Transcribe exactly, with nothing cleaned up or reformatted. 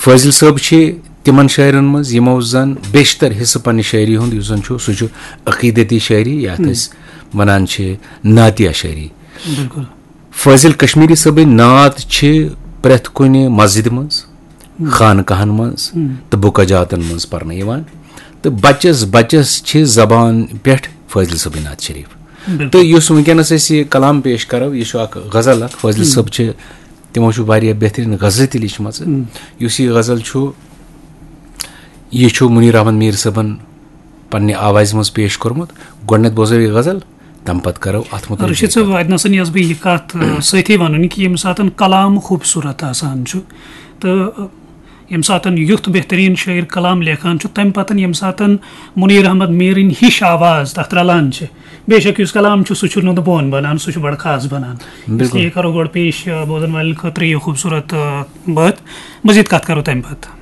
فٲضل صٲب چھِ تِمن شٲعرن منٛز یِمو زن بیشتر حصہٕ پننہِ شٲعری ہُنٛد یُس زن چھُ، سُہ چھُ عقیدتی شٲعری، یتھ أسۍ ونان چھِ نعتیہ شٲعری۔ بِلکُل۔ فٲضل کشمیری صٲبٕنۍ نعت چھِ پرٛٮ۪تھ کُنہِ مسجدِ منٛز، خانقاہن منٛز تہٕ بُکہ جاتن منٛز پرنہٕ یِوان، تہٕ بچس بچس چھِ زبان پٮ۪ٹھ فٲضل صٲبٕنۍ نعت شریف۔ بِلکُل۔ تہٕ یُس وٕنکیٚنس أسۍ یہِ کلام پیش کرو، یہِ چھُ اکھ غزل اکھ۔ فٲضل صٲب چھِ، تِمو چھُ واریاہ بہترین غزلہٕ تہِ لیچھمژٕ۔ یُس یہِ غزل چھُ، یہِ چھُ منیر احمد میر صٲبن پننہِ آوازِ منٛز پیش کوٚرمُت۔ گۄڈٕنٮ۪تھ بوزو یہِ غزل، تمہِ پتہٕ کرو اتھ مُتعلق رشید صٲب، اتہِ نسن یۄس بہٕ یہِ کتھ، آ، سۭتی ونُن کہِ ییٚمہِ ساتن کلام خوٗبصوٗرت آسان چھُ تہٕ، آ، ییٚمہِ ساتن یُتھ بہتریٖن شٲعر کلام لیکھان چھُ، تمہِ پتن ییٚمہِ ساتن منیر احمد میٖرٕنۍ ہِش آواز تتھ رلان چھِ، بے شک یُس کلام چھُ، سُہ چھُ نُنہٕ بون بنان، سُہ چھُ بڑٕ خاص بنان۔ اس بِلکُل۔ لیے کرو گۄڈٕ پیش، آ، بوزن والٮ۪ن خٲطرٕ یہِ خوٗبصوٗرت، آ، بٲتھ۔ مزید کتھ کرو تمہِ پتہٕ۔